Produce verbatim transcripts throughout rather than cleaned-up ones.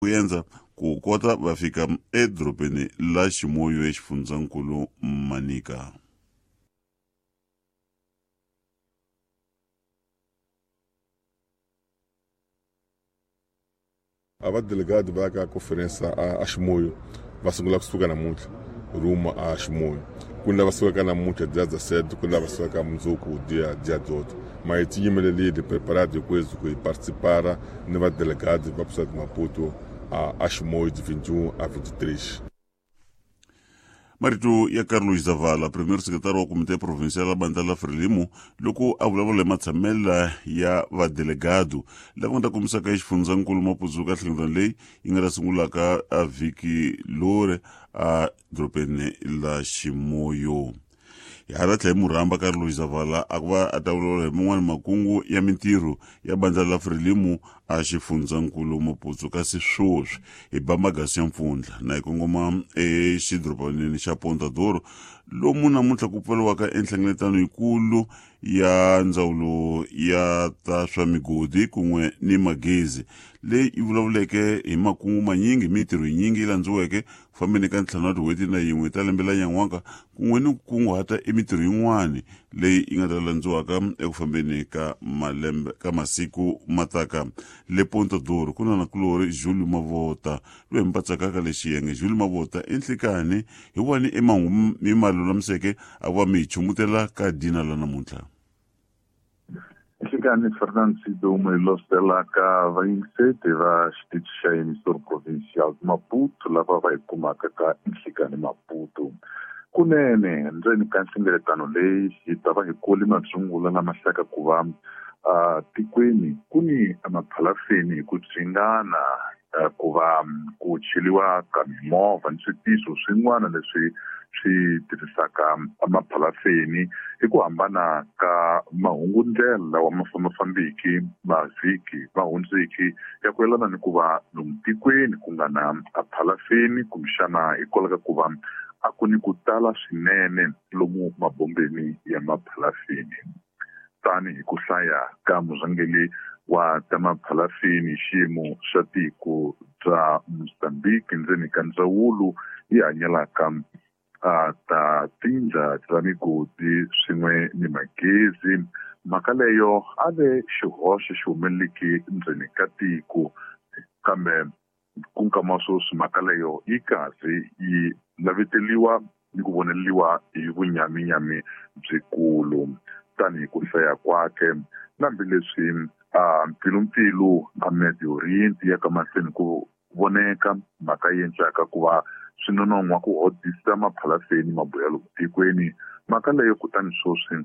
Ku endza ku kota va fika edorobeni la Chimoio exifundzankulu Manica. A vadelegado va ya ka conferência a, a Chimoio va sungula kusuka namuntlha rumo a Chimoio. Ku ni lava sukaka namuntlha dia dezessete, ku ni lava sukaka mundzuku dia dia dezoito. Mas ti yimelelile preparado hinkweswo ku hi participar ni vadelegado va kusuka Maputo a, a Chimoio de vinte e um a vinte e três. Marito ya Carlos Zavala, primeiro secretário wa Comitê Provincial la Bandla la Frelimo, loko a vulavula hi matshamela ya vadelegado lava nga ta kombisaka exifundzankulu Maputo ka nhlengeletano leyi yi nga ta sungulaka a vhiki lori a dorobeni la Chimoio. Hi hala tlhela hi murhamba Carlos Zavala a ku va a ta vulavula hi man'wani makungu ya mintirho ya bandla la Frelimo a xifundzankulu Maputo. Kasi sweswi hi ba magasi ya mpfundla na hi kongoma exidorobaneni xa Ponta do Ouro, lomu namuntlha ku pfariwaka enhlengeletano yikulu ya ndzawulo ya ta swa migodi kun'we ni magezi, leyi yi vulavuleke hi makungu manyingi, mintirho yinyingi yi landziweke ku fambeni ka ntlhanu wa tin'hweti na yin'we ta lembe la nyan'waka, kun'we ni ku kunguhata emintirho yin'wani leyi yi nga ta landziwaka eku fambeni ka malembe ka masiku mataka. Le Ponta do Ouro ku na nakulori Julio Mavota loyi hi mi patsakaka lexi yenge. Julio Mavota i nhlikani hi wani i mahungu mi ma lulamiseke a ku va mi hi chumutela ka dina la namuntlha. Nhlikani Fernando Sidumo hi loselaka vayingiseti va xitichi xa emissor provincial Maputo lava va hi kumaka ka Nhlikani Maputo. Kunene ndzeni ka nhlengeletano leyi hi ta va hi kule mabyungula lama hlaka ku va a tikweni ku ni emaphalafeni hi ku dzingana ku va ku cheliwa ka mimovha ni switiso swin'wana leswi swi tirhisaka emaphalafeni hi ku hambana ka mahungundlela lawa ma fambafambiki mavhiki ma hundziki ya ku yelana ni ku va lomu tikweni ku nga na aphalafeni kumbexana hikwalaho ka ku va a ku ni ku tala swinene lomu mabombeni ya maphalafeni. Tanihi ku hlaya ka murhangeri wa ta maphalafeni xiyimo xa tiko bya Mozambique ndzeni ka ndzawulo yi hanyelaka a ta tindla ta migodi swin'we ni magezi, mhaka leyo a ve xihoxo xi humeleleke ndzeni ka tiko, kambe ku nkama sweswi mhaka leyo yi kahle yi laveteliwa ni ku voneliwa hi vunyaminyami byikulu. Tanihi ku hlaya kwake na hambileswi a mpfilumpfilu a Medio Oriente ya ka mahlweni ku voneka mhaka yi endlaka ku va swi nonon'hwa ku hodisa maphalafeni mabuya lomu tikweni, mhaka leyo kutani sweswi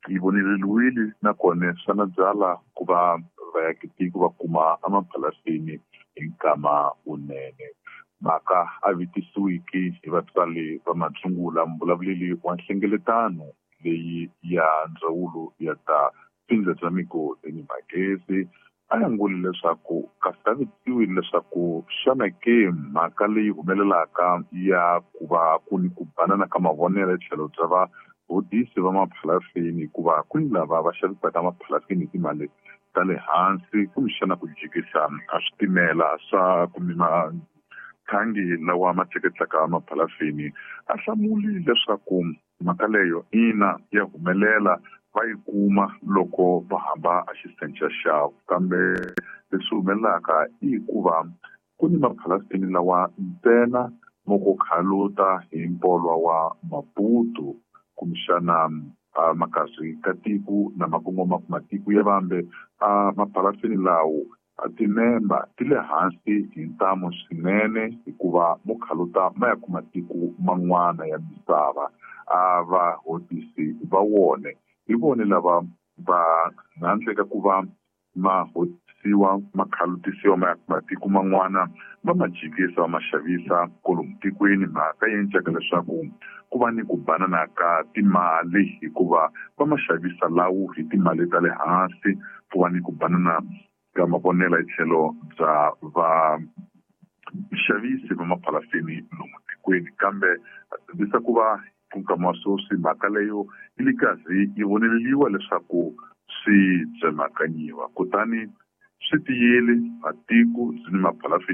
yi voneleliwile nakona swa na byala ku va vaakatiko va kuma emaphalafeni hi nkama wunene. Mhaka a vitisiwiki hi vatswari va mabyungula, mvulavuleli wa nhlengeletano leyi ya ndzawulo ya ta tindlu bya migodi ni magezi a yanguli leswaku kasi a vitisiwile leswaku xana ke mhaka leyi humelelaka ya ku va ku ni ku banana ka mavonelo hi tlhelo bya vahodisi va maphalafeni, hikuva ku ni lava va xavisaka maphalafeni hi timali ta le hansi kumbexana ku jikisa a switimela swa kumbe mathangi lawa ma tleketlaka maphalafeni. A hlamuli leswaku mhaka leyo ina ya humelela va yi kuma loko va hamba a xisenca xavo, kambe leswi humelelaka i ku va ku ni maphalafeni lawa ntsena mo ku khaluta hi mpolwa wa Maputo kumbexana a makazi ka tiko na makongoma matiko ya vambe. A maphalafeni lawo a timemba ti le hansi hi ntamu swinene hikuva mo khaluta ma ya kuma tiko man'wana ya misava. A vahodisi va wona hi vona lava va handle ka ku va ma hodisiwa ma khalutisiwa ma ya matiko man'wana va ma jikisa va ma xavisa kwalomu tikweni, mhaka yi endlaka leswaku ku va ni ku banana ka timali hikuva va ma xavisa lawo hi timali ta le hansi, ku va ni ku banana ka mavonelo hi tlhelo bya vaxavisi va maphalafeni lomu tikweni. Kambe a tshembisa ku va ku nkama wa sweswi mhaka leyo yi le karhi yi voneleliwa leswaku swi tsemakanyiwa, kutani Swi tiyile matiko byi ni maphalafini.